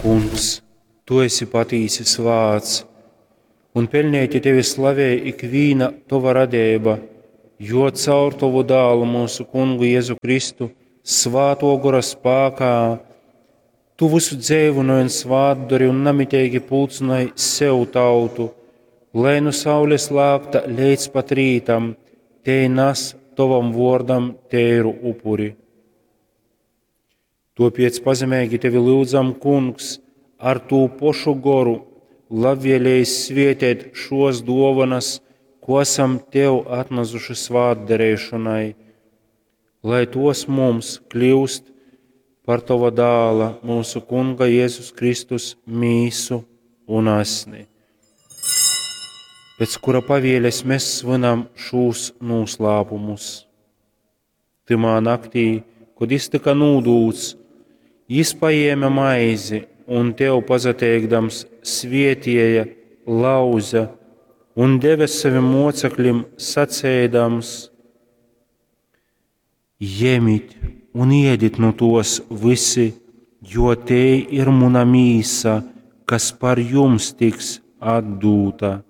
Kungs, tu esi patīsi svāts, un peļneiti tevi slavej ikvīna tova radeiba, jo caur tovu dālu mūsu kungu Jēzu Kristu svāto gora spākā tu visu dzeivynoj un svātdori un namiteigi pulcynoj sev tautu, lai nu saules lākta leidz pat rītam tei nas tovam vōrdam teiru upuri. Tōpēc pazemeigi tevi lyudzam, Kungs, ar tū pošu goru labvēlējis svietēt šos dōvanas, ko esam tev atnasuši svātdarēšonai, lai tos mums kļūst par tova dāla, mūsu Kunga Jēzus Kristus mīsu un asni, pēc kura pavieles mēs svinam šūs noslēpumus. Tymā naktī, kod jis tyka nūdūts, jis paēma maizi un tev pasateikdams svietieja, lauza un deve savim moceklim, saceidams: Jemit un iedit nu tos visi, jo tei ir muna mīsa, kas par jums tiks atdūta.